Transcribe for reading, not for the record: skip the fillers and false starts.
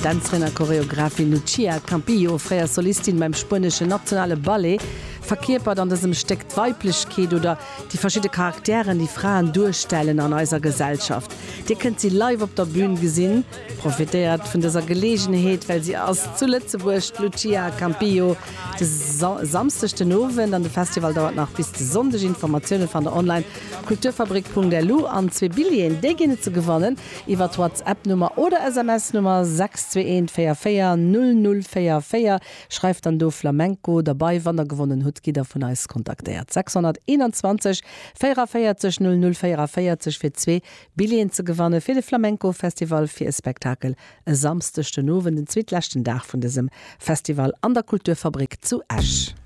Dänzerin a Choreographin Lucia Campillo, fréier Solistin beim spueneschen nationale Ballet, verkierpert an dësem Stéck d'Weiblechkeet oder déi verschidde Charakteren, déi Fraen duerstellen an eiser Gesellschaft. Dir kënnt si live op der Bün gesinn. Profitéiert vun dëser Geleegenheet, well si ass zu Lëtzebuerg, d'Lucia Campillo, de Samsdeg den Owend an de Festival dauert nach bis de Sonndeg. Informatioune fannt der online kulturfabrik.lu an zwee Billjeeën, déi ginn et ze gewannen iwwer d'Whatsapp-Nummer oder SMS-Nummer 621 44 00 44. Schreift dann do Flamenco derbei. Wann der gewonnen hutt, gitt der vun eis kontaktéiert. 621 44 00 44 fir zwee Billjeeën ze gewanne fir de Flamenco Festival fir e Spektakel e Samsdeg den Owend, den zweetleschten Dag vun dësem Festival an der Kulturfabrik zu Esch.